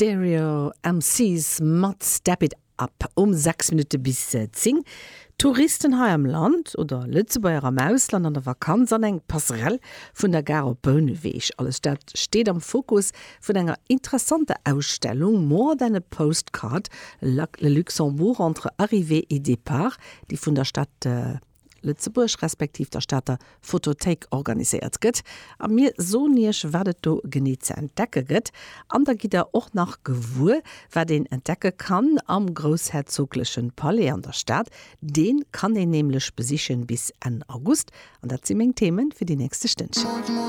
Stereo MCs mat Step It Up um 6 Minutte bis 10. Touristen hei am Land oder Lëtzebuerger am Ausland an der Vakanz an eng Passerelle vun der Gare op Bouneweg. Alles dat steet am Fokus vun enger interessanter Ausstellung More than a postcard, Le Luxembourg entre arrivée et départ, déi vun der Stad Lëtzebuerg respektiv der Stater Fotothéik organiséiert gëtt. A mir soen iech, wat et do genee ze entdecke gëtt. An da gitt der och nach gewuer, wat een entdecke kann am groussherzoglechen Palais an der Stad. Dee kann een nämlech besichen bis Enn August. An dat si meng Themen fir déi nächste Stënnchen.